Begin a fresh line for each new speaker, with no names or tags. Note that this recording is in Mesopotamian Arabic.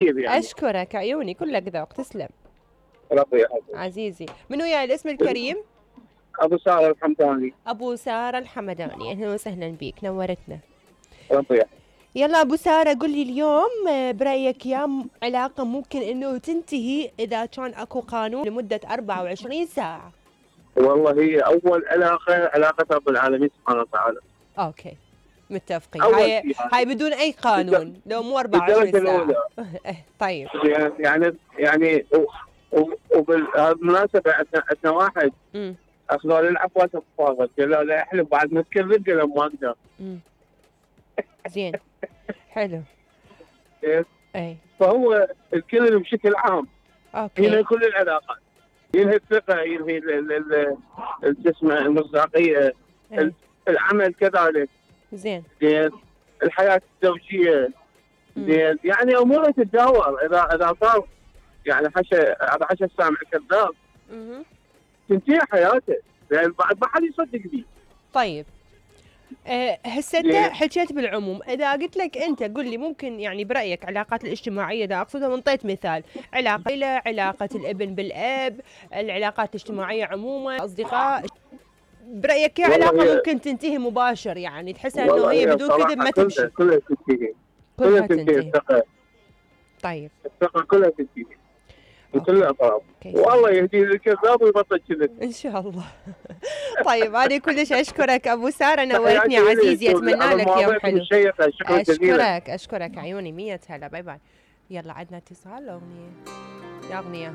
يعني.
اشكرك عيوني، كلك ذوق، تسلم.
ربي يحفظك.
عزيزي، من وياي الاسم الكريم؟
ابو ساره الحمداني.
ابو ساره الحمداني، اهلا وسهلا بيك، نورتنا.
ربي يحفظك.
يلا ابو ساره، قل لي اليوم برايك يا علاقه ممكن انه تنتهي اذا كان اكو قانون لمده 24 ساعه؟
والله هي اول علاقه رب العالمين سبحانه وتعالى.
اوكي، متفقين.
اول
هاي
شيء
هاي بدون اي قانون، لو مو 24
بالدرجه
ساعه.
الاولى.
طيب.
يعني وبالمناسبه عندنا واحد اخذوا نلعب وقت فاضل، قالوا لا احلف بعد ما تكرر، قالوا ما اقدر.
زين. حلو.
اي فهو الكل بشكل عام.
اوكي.
ينهي كل العلاقات، ينهي الثقه، ينهي اسمه المصداقيه، العمل كذلك.
زين.
الحياه الزوجيه. زين، يعني اموره تتداول. اذا صار يعني حشا السامع كذاب تنتهي حياته، لان بعد ما حد يصدق فيه.
طيب هسه انت حكيت بالعموم، اذا قلت لك انت قل لي ممكن يعني برايك علاقات الاجتماعيه، اذا اقصدها وانطيت مثال، علاقه الى علاقه الابن بالاب، العلاقات الاجتماعيه عموما، اصدقاء، برايك يا علاقه ممكن تنتهي مباشر، يعني تحسها انه هي بدون كذب ما تمشي؟
كلها تنتهي. كلها تنتهي الثقه.
طيب
الثقه كلها تنتهي من كل الاطراف، والله يهدي الكذاب ويبطل كذب
ان شاء الله. طيب انا كلش اشكرك ابو ساره، نورتني عزيزي، اتمنى لك يوم حلو. اشكرك عيوني، 100 هلا، باي باي. يلا عندنا اتصال. اغنيه